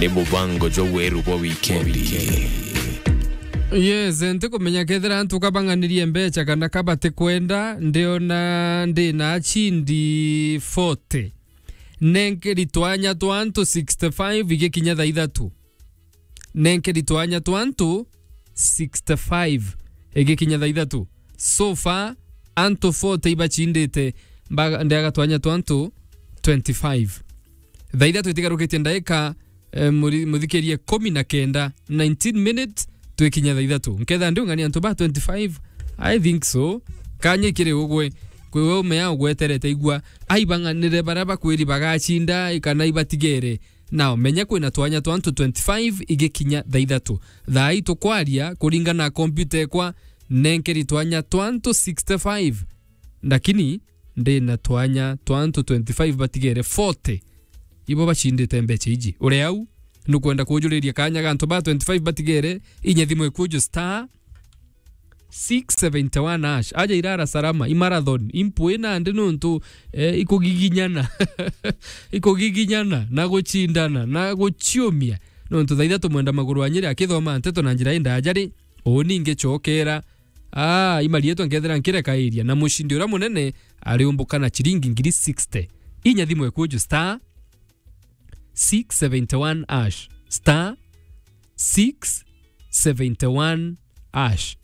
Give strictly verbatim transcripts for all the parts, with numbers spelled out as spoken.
Ni mubango jwa weru bwa wikendi. Yes, ntikumenya kethira antu kabang'anirie mbecha kana kabati kwenda, ndiona ndi na achindi forty. Nenkeri twanya twa antu sixty-five igikinya thaa ithatu. Nenkeri twanya twa antu sixty-five igikinya thaa ithatu. So far, antu forty ibachindite, mbaga-, ndiaga twanya twa antu twenty-five. Thaa ithatu itigarukitie ndaika, eh, muri-, muthikirie kumi na kenda, nineteen minutes, twikinya thaa ithatu. Nketha ndi ung'ani antu ba twenty-five, I think so. Kanya ikiri ugwe, kwi we umea ugweterete igua, aibang'anire baria bakwiri bagachinda, kana ibatigere. Now, menya kwina twanya twa antu twenty-five igikinya thaa ithatu. Thaa ii tukwaria, kuringana na kompyuta ekwa, nenkeri twanya twa antu sixty-five. Lakini, ndi na twanya twa antu twenty-five batigere forty. Ibo bachindite mbecha iji. Uri au, nukwenda kujuriria kanya ga antu ba twenty-five batigere, inya thimu ikuju star six seventy-one hash. Aja irara salama, i marathon, impui nandi nuntu, eh, ikugiginyana. Ikugiginyana, na guchindana, na guchiumia. Nuntu thaa ithatu mwenda maguru wa Nyeri akithoma nteto na njira indaaja ri, uu ningi chokera. Ah, imarietwa nkethira nkireka iria. Na mushindi uria munene ariumbuka na chiringi ngiri sixty. Inya thimu ikuju star six seventy-one hash. Star six seventy-one hash.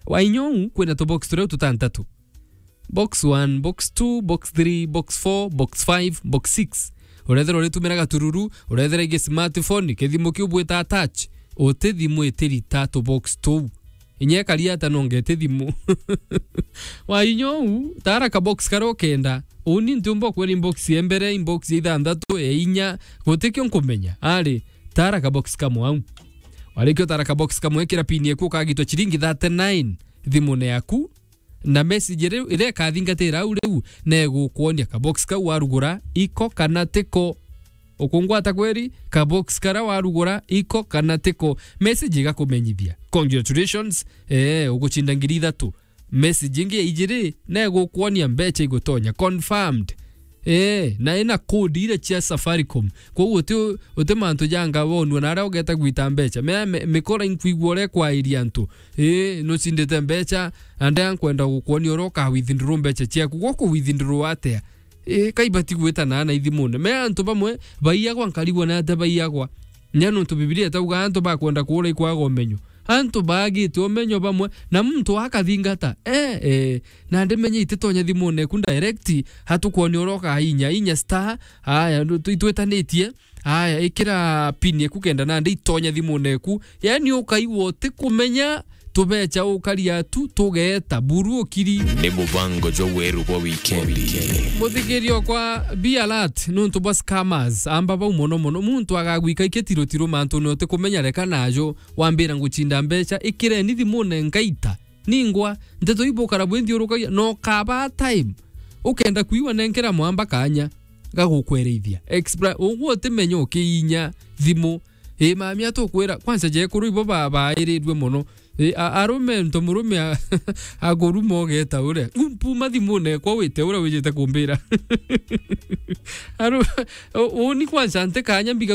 Wainyou kwina tubox turia tutantatu. Box one, box two, box three, box four, box five, box six. Urethera uritumira gatururu, urethera ingi smartphone, kithimu kiu bwita touch, uti thimu itirita tubox tuu. Inya ikaria ata no ngete thimu. Wainyou, tara ka box karia ukenda. Uni ntiumba kwira inbox ya mbere, inbox ya ithanthatu, ya inya, gutikio nkumenya. Ari, tara ka box kamwe au. Warikio tara ka box kamwe, ikira pin yaku ukagitwa chiringi thirty-nine thimune yaku. Na message iri, iria ikathingatira au riu, na igukwonia ka box kau warugura, iko kana tiko. Ukungwata kweri, ka box karia warugura, iko kana tiko. Message igakumenyithia. Congratulations, eh, uguchinda ngiri ithatu. Message ingi ya ijiri, na igukwonia mbecha igutonya. Confirmed. Eh, na ina code iria cia Safaricom. Koguo uti, uti mantu janga wonua na aria ugeta gwita mbecha. Mea me-, mikora inkwigua uria ikwairia antu. Eh, nucindite mbecha, na ndea nkwenda gukwonia uria uka withdraw mbecha ciaku. Guku withdraw atia? Eh, kaibati gwita na na ithimune. Mea antu bamwe, baiagwa nkarigwa na atia baiagwa. Nya nuntu Bibilia itauga antu bakwenda kuura ikwaga umenyo. Antu baagite umenyo bamwe, na muntu akathingata. Eh, eh, na ndimenye ititonya thimune eku direct, atukwonia uria ukainya, inya star, aya, ndu-, tu-, itwitanitie, aya, ikira pin eku kenda nandi itonya thimune eku. Yani ukaigua utikumenya, tubecha ukaria tu, tugeta, buru ukiri. Ni mubango jwa weru bwa wikendi. Muthikirio kwa be alert, nuntu bwa scammers, amba bau mono mono. Muntu agagwika ikitiro tiro mantu ni utikumenya reka najo. Wambira nguchinda mbecha, ikireni thimune ngaita. Ningwa, nteto ibukara bwinthiurukagia, no kaba time. Ukenda kuigua nenkera mwamba kanya, gagukwerithia. Expla-, uguo utimenya ukiinya thimu. Ii, mami atukwira, kwanza jekuru ibo ba-, bairirue mono. Ii, a-, arume, nto murume a-, akuruma ugeta uria. Umpuma thimune kwa wite uria wijite kumbira. Aru-, u-, uni kwanza nte kanya mbiga